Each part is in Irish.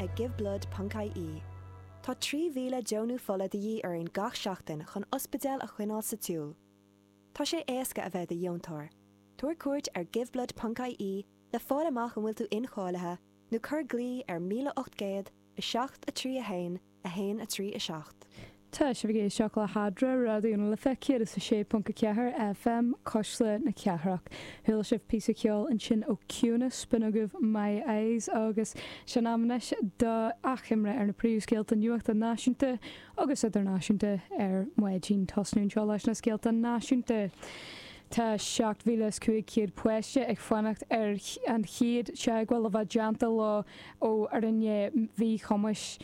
ag giveblood.ie. Tá 3,000 deonú fola de dhíth orainn gach seachtain chun ospidéil a choinneáil sa tsiúl. Tá sé éasca a bheith i do dheontóir. Tabhair cuairt ar giveblood.ie le fáil amach an bhfuil tú incháilithe nó cuir glao ar 1800 7 3 1 1 3 7. Tá sibh ag éisteacht le hEadra, Raidió na Life 106.4 FM, Cuisle na Cathrach. Chuala sibh píosa ceoil ansin ó Ciúnas, b'in agaibh My Eyes agus sin am anois do achoimre ar na príomhscéalta nuachta náisiúnta agus idirnáisiúnta ar maidin. Tosnú anseo leis na scéalta náisiúnta. Tá 7,500 páiste ag fanacht ar an chéad teagmháil a bheith déanta leo ó fhoireann mhíchumais,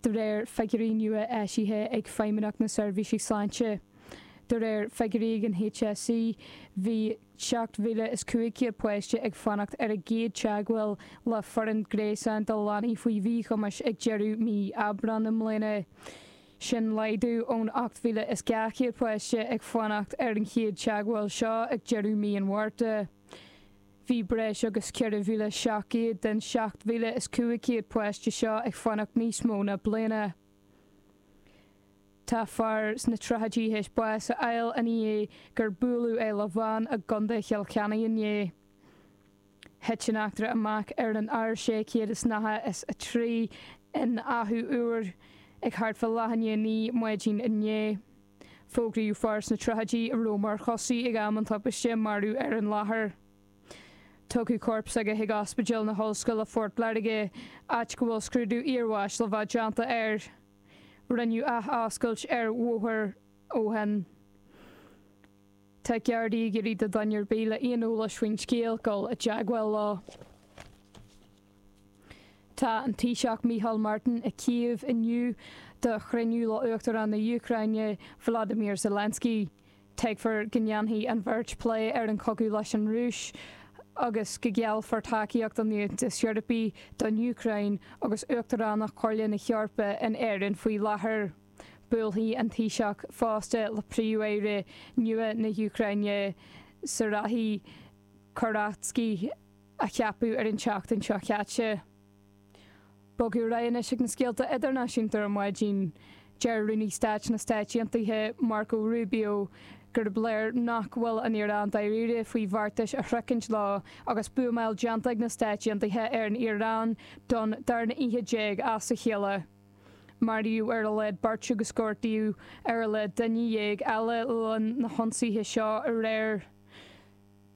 de réir figiúirí nua eisithe ag Feidhmeannacht na Seirbhíse Sláinte. De réir figiúirí ag an HSE, bhí 7,500 páiste ag fanacht ar a gcéad teagmháil le foireann gréasáin do leanaí faoi mhíchumais ag deireadh mí Aibreán i mbliana. Sin laghdú ón 8,200 páiste ag fanacht ar an chéad teagmháil seo ag deireadh mí an Mhárta. Bhí breis agus 4,700 den 7,500 páiste seo ag fanacht níos mó ná bliana. Tá fear sna tríochaidí théis bás a fháil i ndiaidh gur buaileadh é le veain i gContae Chill Chainnigh inné. Thit an eachtra amach ar an R693 in Achadh Úr ag thart fá leath i ndiaidh 9 maidin inné. Fógraíodh fear sna tríochaidí a raibh mar chosaí ag am an tubaiste marbh ar an láthair. Tugadh corp s'aige chuig Ospidéal na hOllscoile Phort Láirge, áit go bhfuil scrúdú iarbháis le bheith déanta air. Rinneadh ath-oscailt ar bhóthar ó shin. Tá Gardaí ag iarraidh do dhuine ar bith le aon eolais faoin scéal dul i dteagmháil leo. Tá an Taoiseach Micheál Martin i Cív inniu do chruinniú le Uachtarán na hÚcráine Volodymyr Zelensky. Tuigtear go ndéanfaidh an bheirt plé ar an chogadh leis an Rúis agus go geallfar tacaíocht an Aontais Eorpaigh don Úcráin agus Uachtaránacht Chomhairle na hEorpa in Éirinn faoi láthair. Buailfidh an Taoiseach fosta le Príomh-Aire nua na hÚcráine Serhiy Korotkyi a ceapadh ar an tseachtain seo caite. Bogadh ar aghaidh anois ag na scéalta idirnáisiúnta ar maidin. Deir Rúnaí Stáit na Stáit Aontaithe, Marco Rubio, gurb léir nach bhfuil an Iaráin dáiríre faoi bheartais a shroichint leo agus buamáil déanta ag na Stáit Aontaithe ar an Iaráin don darna oíche déag as a chéile. Maraíodh ar a laghad beirt agus gortaíodh ar a laghad duine dhéag eile le linn na hionsaithe seo aréir.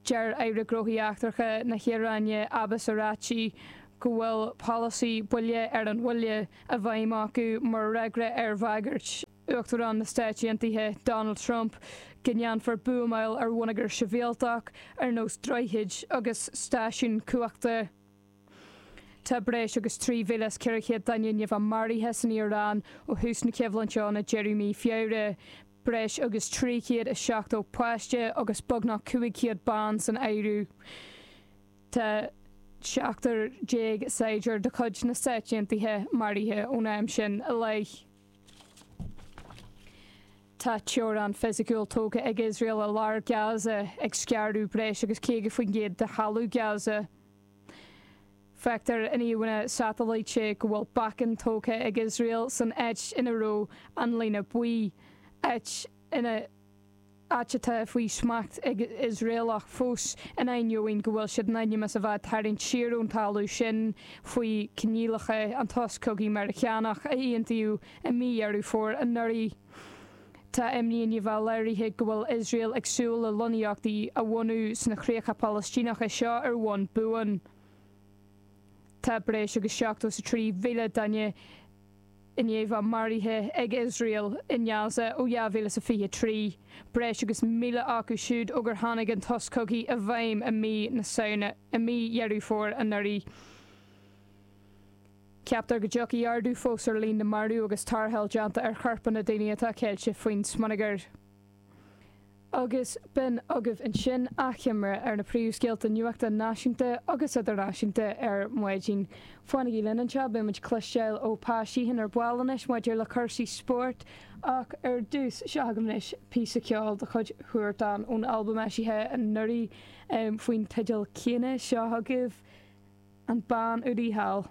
Deir Aire Gnóthaí Eachtracha na hIaráine, Abbas Araghchi, go bhfuil polasaí buille ar an bhuille i bhfeidhm acu mar fhreagra ar bhagairt Uachtarán na Stáit Aontaithe, Donald Trump, go ndéanfar buamáil ar bhonneagar sibhialtach ar nós droichid agus stáisiúin cumhachta. Tá breis agus 3,400 duine i ndiaidh a bheith maraithe san Iaráin ó thús na coimhlinte ann ag deireadh mí Feabhra, breis agus 370 páiste agus beagnach 500 bean san áireamh. Tá 17 saighdiúir de chuid na Stáit Aontaithe maraithe ón am sin i leith. Tá teorainn fisiciúil tógtha ag Iosrael i lár Gaza, ag scaradh breis agus 50% de thalamh Gaza. Feictear in íomhánna satailíte go bhfuil bacainn tógtha ag Iosrael san áit ina raibh an líne buí, áit ina áit atá faoi smacht ag Iosraelach fós, in ainneoin go bhfuil siad in ainm is a bheith ag tarraingt siar ón talamh sin faoi choinníollacha an tsos cogaidh Meiriceánach a aontaíodh i mí Dheireadh Fómhair anuraidh. Tá imní i ndiaidh a bheith léirithe go bhfuil Iosrael ag súil le lonnaíochtaí a bhunú sna críocha Palaistíneacha seo ar bhonn buan. Tá breis agus 73,000 duine i ndiaidh a bheith maraithe ag Iosrael i nGaza ó 2023, breis agus 1,000 acu siúd ó gur tháinig an sos cogaidh i bhfeidhm i mí na Samhna, i mí Dheireadh Fómhair anuraidh. Ceaptar go dtiocfaidh ardú fós ar líon na marbh agus tarrtháil déanta ar chorpanna daoine atá ceilte faoin smionagar. Agus b'in agaibh ansin achoimre ar na príomhscéalta nuachta náisiúnta agus idirnáisiúnta ar maidin. Fanaigí linn anseo, beidh muid ag cloisteáil ó Pa Sheehan ar ball anois maidir le cúrsaí spóirt ach ar dtús, seo agaibh anois píosa ceoil de chuid Huartan ón albam eisithe anuraidh faoin teideal céanna. Seo agaibh. An Bean Údaí Thall.